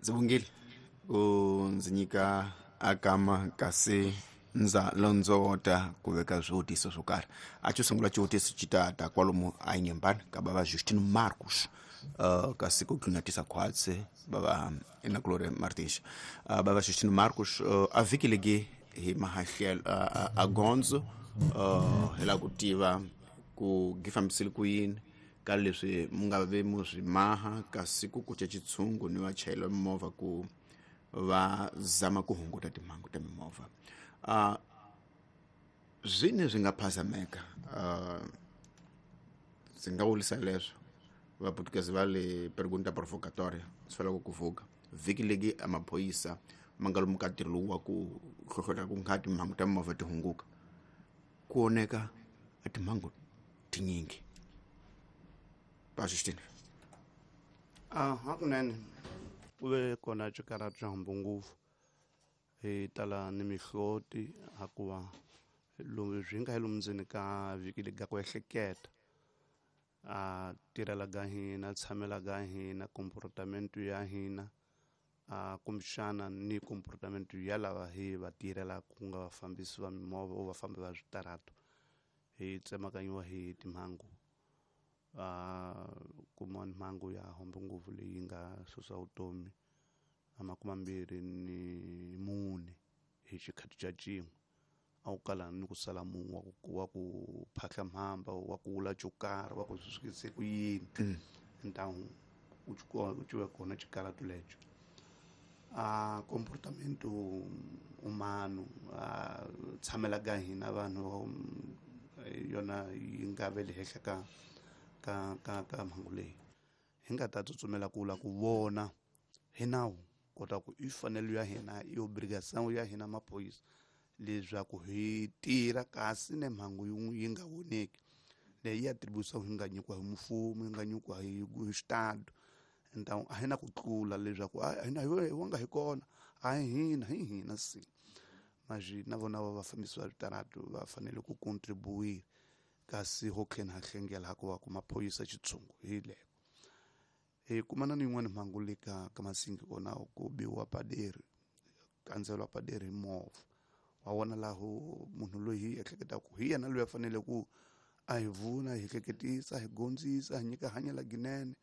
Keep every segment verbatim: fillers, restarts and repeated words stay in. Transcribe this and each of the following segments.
Ndzi vongile ku ndzi nyika akama kasi ndza londzota ku veka swivutiso swo karhi. A xo sungula xivutiso xi ta ta kwalomu a Inhambane ka bava Justino Marcos, uh, kasi ku tlunatisa khwatsi bava Inakulore Martins. Uh, bava Justino Marcos, uh, a vhiki legi hi mahahlelo uh, a gondzo, uh, hi lava ku tiva ku gi fambisile ku yini ka leswi mu nga ve mu swi maha kasi ku kuca xitshungu ni vachayeri va mimovha ku va zama ku hunguta timhangu ta mimovha. Uh, zwine swi nga phazameka, uh, ndzi nga vurisa leswo vaputukezi va le pergunta provocatoria swi fanele ku vuka vhiki legi a maphorisa ma nga lomu ka ntirho lowu wa ku hlohlotela ku nga timhangu ta mimovha ti hunguka, ku oneka a timhangu tinyingi. Va Justine. Ah, hakunene ku ve kona xikarhati xa hambu ngopfu hi tala ni mihloti hakuva lomu swi nga hi lomu ndzeni ka vhiki legi ka ku ehleketa a tirhela ka hina, tshamela ka hina, comportamento ya hina, a kumbexana ni comportamento ya lava hi va tirhelaka ku nga vafambisi va mimovha o vafambi va switarato, hi tsemakanyiwa hi timhangu. A kuma mhangu ya hombe ngopfu leyi nga susa vutomi a makume mambirhi ni mune hi xikhathi xa cin'we, a wu kala ni ku sala munhu wa ku, wa ku phahla mhamba, wa ku wula xo karhi, wa ku swi sukise ku yini. Ntamu u u ciwe kona xikarhati lexo. A comportamento humano, a tshamela ka hina vanhu yona yi nga ve le henhla ka ka ka ka mhangu leyi hi nga ta tsutsumela ku la ku vona hi nawu kota ku i fanelo ya hina i obrigação ya hina maphorisa leswaku hi tirha kasi ne mhangu yin'we yi nga voneki leyi ya atribution yi nga nyikiwa hi mfumo, yi nga nyikiwa hi hi xitado. Ntamu a hi na ku tlula leswaku a hina hi wa nga hi kona, a hi hina, hi hina si maji na vona va vafambisi va switaratu va fanele ku contribuir kasi ho tlhela ha hlengela hikuva ku maphorisa xitshungu hi leko. Hi kumana ni yin'wana mhangu le ka ka Masingi kona ku biwa paderi, kandzeriwa paderi hi movha. Wa vona laho munhu loyi hi ehleketaka ku hi yena loyi a fanele ku a hi vuna, hi hleketisa, hi gondzisa, hi nyika hanya la ginene.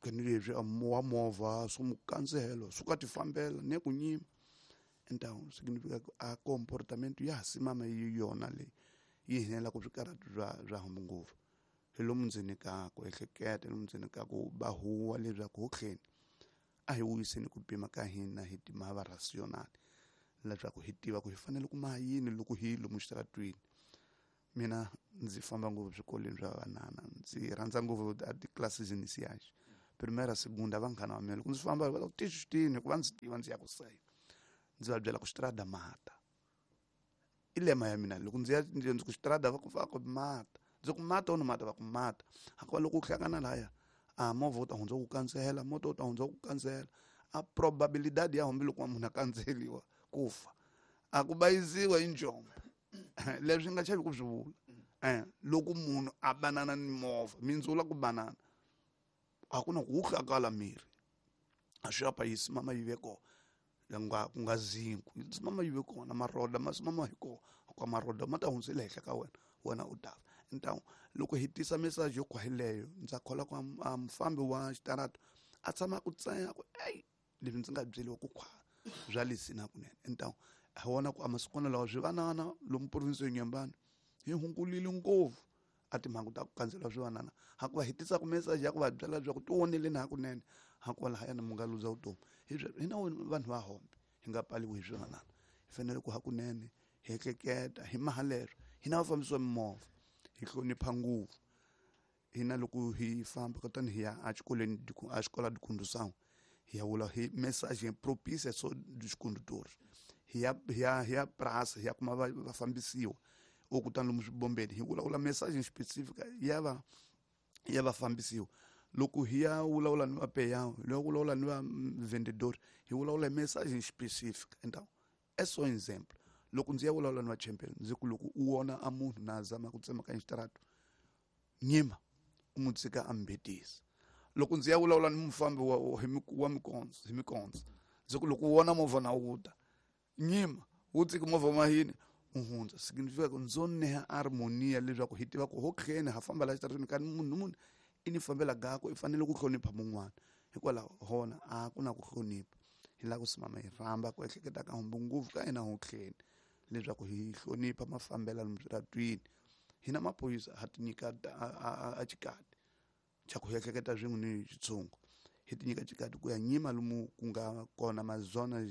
Kani leswi a wa movha swo mu kandzelo swi ka ti fambela ne ku nyima. Ntamu significa ku a comportamento ya ha simama yi yona leyi yi hinela ku swikarhati bya bya hambu ngopfu. Hi lomu ndzeni ka ku ehleketa, hi lomu ndzeni ka ku ba huwa leswaku ho tlheni a hi vuyiseni ku pima ka hina hi timhaka rational leswaku hi tiva ku hi fanele ku maha yini loko hi lomu xitaratwini. Mina ndzi famba ngopfu swikolweni swa vanana, ndzi rhandza ngopfu a ti-classes iniciais, primeira, segunda, vanghana va mina loko ndzi famba va ku tixitini hikuva ndzi tiva ndzi ya ku sayi, ndzi va byela ku xitarata mata i lema ya mina. Loko ndzi ya ndzi ku xitarata va ku va ku mata, ndzi ku mata u mata va ku mata. Hikuva loko u hlangana laya a movha wu ta hundza ku kandzela, moto wu ta hundza ku kandzela, a probabilidade ya hambi loko munhu a kandzeliwa ku fa a ku bayiziwa hi njombo. Leswi nga chavi ku swi vula. Eh, loko munhu a banana ni movha, mindzula ku banana a ku na ku hlakala miri, a swi apa yi simama yi ve kona, nga ku nga zinku yi simama yi ve kona, maroda ma simama hi kona, ka maroda ma ta hundzela henhla ka wena, wena u ta fa. Ntamu loko hi tisa message yo khwahileyo, ndza kholwa ku a mufambi wa xitarato a tshama ku tsaya ku ey leswi ndzi nga byeriwa ku khwa bya lesina kunene. Ntamu hi vona ku a masikwana lawa swivanana lomu province ya Inhambane hi hungulile ngopfu a timhangu ta ku kandzela swivanana, hakuva hi tisa ku message ya ku va byela leswaku ti voneleni hakunene, hakuva lahayani mu nga luza vutomi. Hi sweswo hina vanhu va hombe hi nga paliwi hi swivanana, hi fanele ku hakunene hi ehleketa hi maha leswo. Hina vafambisi va mimovha hi hlonipha ngopfu. Hina loko hi famba kutani hi ya exikolweni a xikola dicondução, hi ya vula hi message propícia so dos condutores, hi ya hi ya hi ya praça, hi ya kuma vafambisiwa o kutani lomu swibombeni hi vulavula message specific ya va ya vafambisiwa. Loko hi ya vulavula ni vapeyawo, loko vulavula ni va vendedor, hi vulavula message specific. Então é só exemplo. Loko ndzi ya vulavula ni va champion, ndzi ku loko u vona a munhu na zama ku tsemakanya xitarato, nyima u n'wi tshika a mbetisa. Loko ndzi ya vulavula ni mufambi wa hi wa mikondzo hi mikondzo ndzi ku loko u vona movha na wu ta nyima wu tsiki movha mahini u hundza significa ku ndzo neha harmonia leswaku hi tiva ku ho khene ha famba la xitarateni ka munhu munhu i ni fambela gako i fanele ku hlonipha mun'wana hikwalaho hona a ku na ku hlonipha hi lava ku simama hi rhamba ku ehleketa ka humbu ngopfu ka hina ho khene leswaku hi hlonipha mafambelo lomu switaratwini hina maphorisa ha ti nyika a xikati xa ku ehleketa swin'we ni xitshungu hi ti nyika xikati ku ya nyima lomu ku nga kona mazona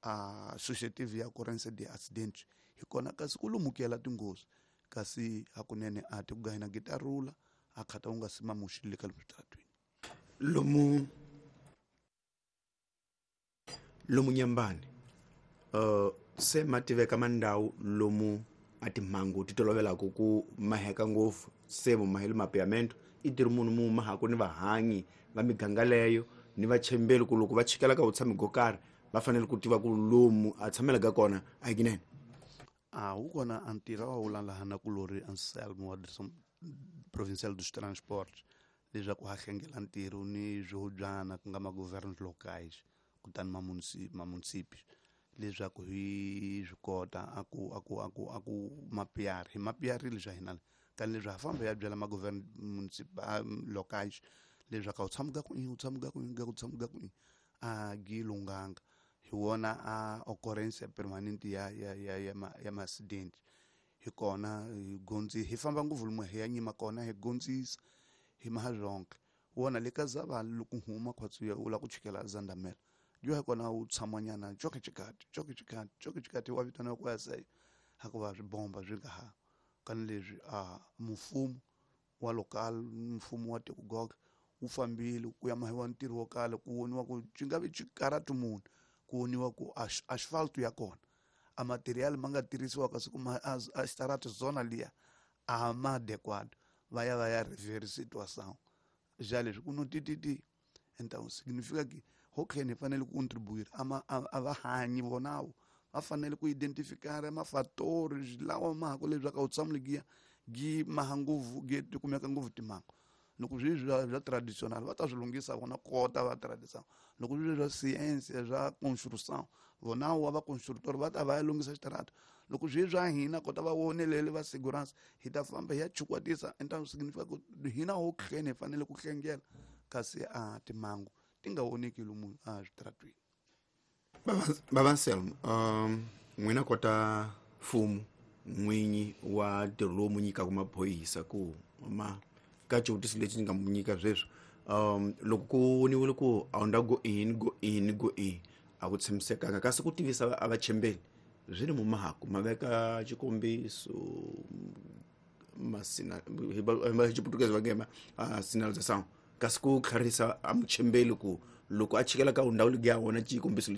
a associative ya occurrence de accident hi kona kasi ku lumukela tinghozi kasi hakunene a ti ku gahina gitarula a khata u nga sima muxi le ka switaratwini lomu lomu Nyambani uh se ma tiveka mandhawu lomu a timhangu ti tolovelaka ku maheka ngopfu se mumahelo mapiamento i tirhi munhu mu mahaku ni vahanyi va miganga leyo ni vachembeli ku loko va chikela ka vutshami go karhi va fanele ku tiva ku lomu a tshamelaka kona a hi kinene a wu kona a ntirho wa wula laha na kulori Anselmo wa Direção Provincial dos Transportes leswaku ha hlengela ntirho ni swihobyana ku nga ma-governos locais kutani ma-municípios leswaku hi swi kota a ku a ku a ku a ku mapiari hi mapiarile swa hina kani leswi ha famba ya byela ma-govern municipal locais leswaku a wu tshami ka ku i u tshami ka ku i ka ku tshami ka ku i a gi lunghanga hi wona a occurrence permanente ya ya ya ya ma ya ma-accident hi kona hi gondzi hi famba ngopfu lomu hi ya nyima kona hi gondzisa hi maha zonke wona le ka Zavala loko huma khwatsi u lava ku chikela Zandamela yo hi kona u tshamanyana coke xikati coke xikati coke xikati wa vitaniwa ku ya seyo hikuva swibomba swi nga ha kani leswi a mfumo wa local mfumo wa tiko goga wu fambile ku ya mahiwa ntirho wo kala ku voniwa ku xi nga vi xikaratu munhu ku voniwa ku asphalt ya kona a material ma nga tirhisiwa kasi kuma a xitarata zona liya a ma adequado va ya va ya rever situação já leswi ku no tititi então significa que ho khene fanele ku contribuir ama a va hanyi vonawo va fanele ku identificar mafatori lawa ma ha ku leswaku a wu tshamuli giya gi maha ngopfu gi ti kumeka ngopfu timhangu loko swi bya bya traditional va ta swi lunghisa vona kota va traditional loko swi bya science bya construction vona wa va constructor va ta va ya lunghisa xitarata loko swi bya hina kota va vonelele va segurança hi ta famba hi ya chukwatisa então significa ku hina ho khene hi fanele ku hlengela kasi a timhangu ti nga voneki lomu a switaratwini. Baba Anselmo, um n'wina kota mfumo n'winyi wa ntirho lowu mu nyikaka maphorisa ku ma ka xivutiso lexi ni nga mu nyika sweswi um loko ku voniwile ku a wu nda go in go in go in a ku tshamisekanga kasi ku tivisa a vachembeli swi ni mumahaku ma veka xikombiso masina hi xiputukezi va nge ma sinalização kasi ku tlharisa a muchembeli ku loko a chikela ka ndhawu leyi ya wona xikombiso